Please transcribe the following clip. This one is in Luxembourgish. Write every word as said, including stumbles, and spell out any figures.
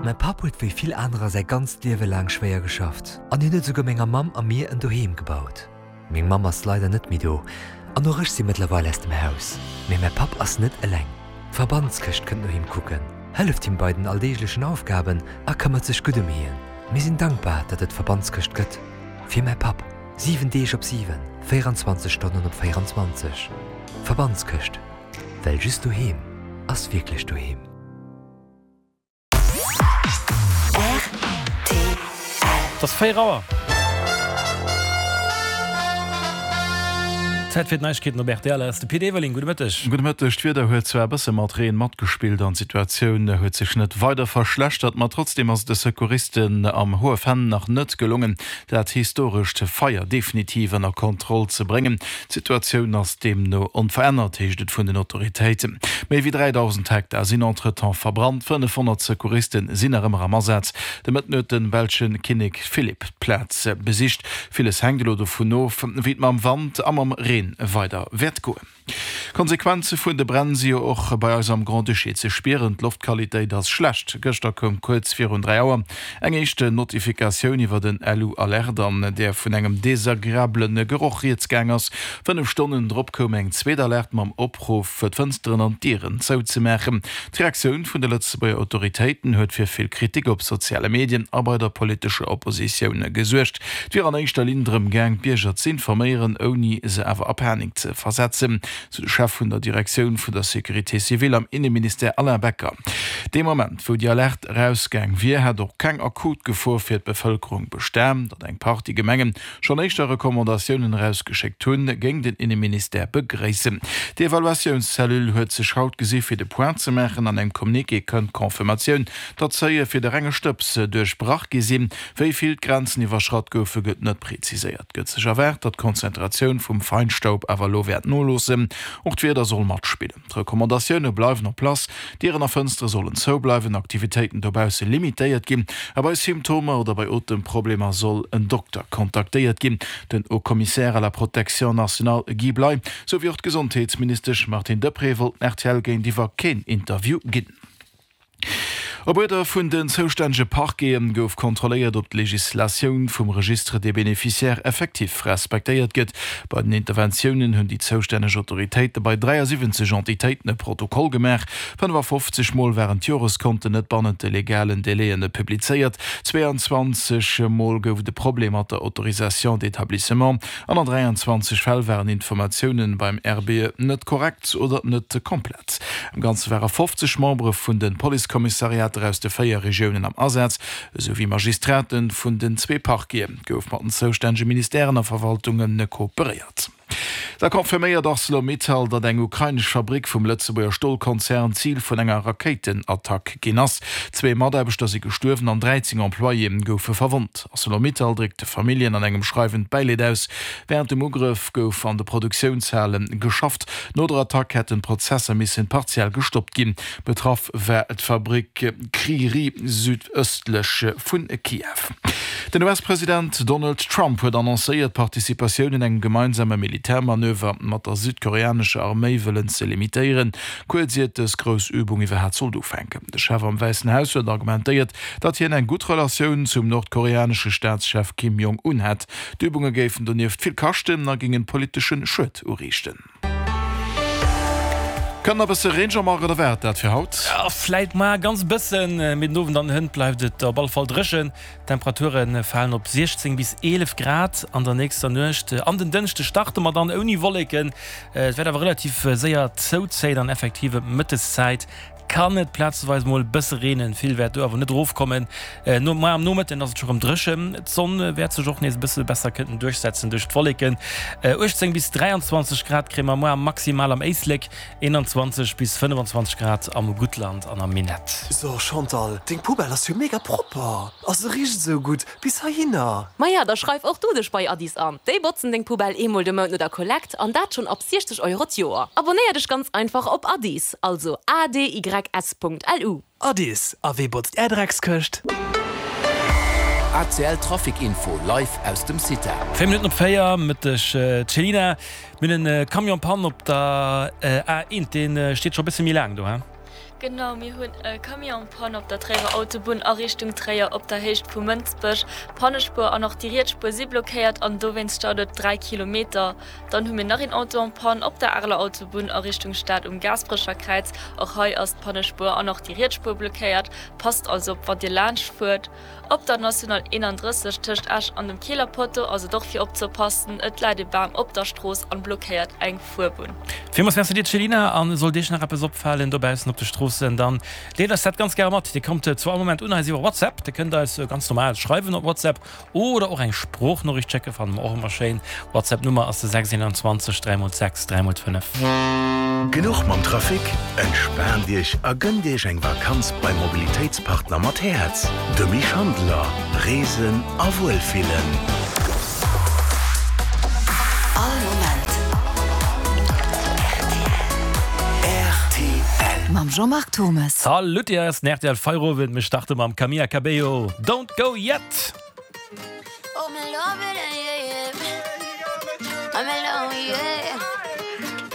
Mäi Papp huet wéi vill anerer säi ganzt Liewe laang schwéier geschafft an hien huet esouguer menger Mamm a mir en Doheem gebaut. Meng Mamm ass leider net méi do an och ech si mëttlerweil aus dem Haus. Mee mäi Papp ass net eleng. D'Verbandskëscht kënnt no him kucken, hëlleft him bei den alldeeglechen Aufgaben a këmmert sech gutt ëm hien. Mir sinn dankbar, datt et d'Verbandskëscht gëtt. Fir mäi Papp. Siwen Deeg op siwen, véieranzwanzeg Stonnen op véieranzwanzeg. Verbandskëscht, well just doheem ass wierklech doheem. Et ass véier Auer. Zäit fir d'Neiegkeeten op rtl. Hei ass de Pit Everling. Gudde Mëtteg. Gudde Mëtteg. D'Wieder huet zwar e bësse mat Reen matgespillt an d'Situatioun huet sech net weider verschlechtert, ma trotzdeem ass et de Secouristen am Hohe Venn nach net gelongen, dat historescht Feier definitiv ënner Kontroll ze bréngen. D'Situatioun ass deemno onverännert, heescht et vun den Autoritéiten. Méi wéi dräidausend Hektar sinn entretemps verbrannt, fënnefhonnert Secouriste sinn nach ëmmer am Asaz. De Mëtten huet de belsche Kinnek Philippe d'Plaz besicht. Villes hänkt elo dovun of, wéi et mam Wand a mam Reen weider wäert goen. D'Konsequenze vun de Bränn si jo och bei eis am Grand-Duché ze spieren. D'Loftqualitéit ass schlecht. Gëschter koum kuerz virun dräi Auer eng éischt Notifikatioun iwwer en Lu-Alert, an där vun engem desagreabele Geroch rieds gaang ass. Fënnef Stonnen drop koum eng zweet Alerte mam Opruff, d'Fënsteren an d'Dieren zouzemaachen. D'Reaktioun vun de Lëtzebuerger Autoritéiten huet fir vill Kritik op soziale Medien a bei der politescher Oppositioun gesuergt. Et wier an éischter Linn drëm gaang, d'Bierger z'informéieren, ouni se awer a Panik ze versetzen, sou de Chef vun der Direktioun vun der Sécurité civile am Inneministère Alain Becker. Dee Moment, wou déi Alerte erausgaang wier, hätt och keng akut Gefor fir d'Bevëlkerung bestan. Datt eng Partie Gemenge schonn éischter Recommandatiounen erausgeschéckt hunn, géing den Inneministère begréissen. D'Evaluatiounscellule huet sech haut gesi fir de Point ze maachen. An engem Communiqué kënnt d'Confirmatioun, datt d'Seuile fir de renge Stëbs duerchbrach gi sinn. Wéi vill d'Grenzen iwwerschratt goufe, gëtt net preziséiert. Et gëtt sech erwaart, datt d'Konzentratioun vum Feinstaub awer elo wäert noloossen. Och d'Wieder soll matspillen. D'Recommandatioune bleiwen en place, Dieren a Fënstere sollen zoubleiwen, Aktivitéiten dobausse limitéiert ginn a bei Symptomer oder bei Otemproblemer soll en Dokter kontaktéiert ginn. Den Haut-Commissaire à la protection nationale Guy Bley, sou wéi och d'Gesondheetsministesch Martine Deprez wollten rtl géintiwwer keen Interview ginn. Op Uerder vun den zoustännege Parquete gouf kontrolléiert, ob d'Legislatioun vum Registre des bénéficiaires effektiv respektéiert gëtt. Bei den Interventiounen hunn déi zoustänneg Autoritéite bei dräiasiwwenzeg Entitéiten e Protokoll gemaach. fënnefafofzeg Mol waren d'Joreskonten net bannent de legalen Délaië publizéiert, zweeanzwanzeg Mol gouf et e Problem mat der Autorisation d'établissement an an dräianzwanzeg Fäll waren Informatiounen beim R B E net korrekt oder net komplett. Am Ganze ware fofzeg Membere vun de Policekommissariater aus de véier Regiounen am Asaz, esou wéi Magistrate vun den zwee Parquete. Gouf mat den zoustännege Ministèren a Verwaltunge kooperéiert. Da confirméiert Arcelor-Mittal, datt eng ukrainesch Fabrick vum Lëtzebuerger Stolkonzern Zil vun enger Rakéitenattack ginn ass. Zwee Mataarbechter si gestuerwen an dräizéng Employéë goufe verwonnt. Arcelor-Mittal dréckt de Familljen an engem Schreiwen d'Bäileed aus. Wärend dem Ugrëff gouf an de Produktiounshale geschafft. No der Attack hätten d'Prozesser missen partiell gestoppt ginn. Betraff war d'Fabrick Kryvyi Rih südëstlech vu Kiew. Den U S-President Donald Trump huet annoncéiert, d'Participatioun un engem gemeinsame Militärmanöver mat der südkoreanescher Arméi wëllen ze limitéieren, kuerz iert dës grouss Übung iwwerhaapt sollt ufänken. De Chef am Wäissen Haus huet argumentéiert, datt hien eng gutt Relatioun zum nordkoreanesche Staatschef Kim Jong-un hätt. D'Übunge géifen donieft vill kaschten a géingen politesche Schued uriichten. Kënnt nach bësse Reen, Jean-Marc, oder war et dat fir haut? Jo, vläit mar ganz e bëssen, mee den Owend an hënt bleift et op alle Fall dréchen. D'Temperature falen op siechzéng bis eelef Grad an der nächster Nuecht. An den Dënschde starte mer dann ouni Wolleken, et wäert awer relativ séier zouzéien an effektiv ëm d'Mëtteszäit kann et plazeweis mol e bësse reenen, vill wäert do awer net erofkommen. No mar am Nomëtten ass et scho rëm dréchen, d'Sonn wäert sech och nees e bësse besser kënnen duerchsetzen duerch d'Wolleken. uechtzéng bis dräianzwanzeg Grad kréie mer muer maximal am Éislek, eenanzwanzeg bis fënnefenzwanzeg Grad am Guttland an am Minett. So Chantal, deng Poubelle ass jo mega propper a se richt esou gutt bis heihinner. Maja, da schreif och du dech bei Addis an. Déi botzen deng Poubelle eemol de Mount no der Kollekt an dat schonn ab siechzeg Euro d'Joer. Abonnéier dech ganz einfach op Addis, also A D Y S punkt L U. Addis, a wee botzt är Dreckskëscht? A C L Trafic Info live aus dem CITA. Véier Minutten op véier, Mëtteg Céline. Mir hunn e Camion Panne op der A eent, dee steet scho e bësse méi laang do, he? Genau, mir hunn e Camion en panne op der Tréierer Autobunn a Richtung Tréier op der Héicht vu Mënsbech. D'Pannespuer an och déi riets Spuer si blockéiert an dowéinst staut et dräi Kilometer. Dann hu mir nach een Auto en panne op der Areler Autobunn a Richtung Stad um Gaasperecher Kräiz. Och hei ass d'Pannespuer an och déi riets Spuer blockéiert. Passt also op wann Dir laanscht fuert. Op der National eenandrësseg tëscht Esch an dem Keeler Potto ass et och fir opzepassen. Et läit e Bam op der Strooss an blockéiert eng Fuerbunn. Villmools Merci dir Céline, an sollt iech nach eppes opfalen dobaussen op de Stroossen, dann deelt eis dat ganz gäre mat. Dir kommt zu all Moment un eis iwwer WhatsApp, dir kënnt eis ganz normal schreiwen op WhatsApp oder och eng Sproochnoriicht schécken, fanne mer och ëmmer schéin. WhatsApp Nummer ass de sechs eenanzwanzeg dräi mol sechs dräi mol fënnef. Genuch mam Trafic? Entspaant Iech a gënnt Iech eng Vakanz beim Mobilitéitspartner mat Häerz, de Mich Schandeler. Reesen a Wuelfillen. All Moment rtl. Mam Jean-Marc Thommes. Salut, hei ass den rtl Feierowend. Mir starte mam Camila Cabello, Don't Go Yet.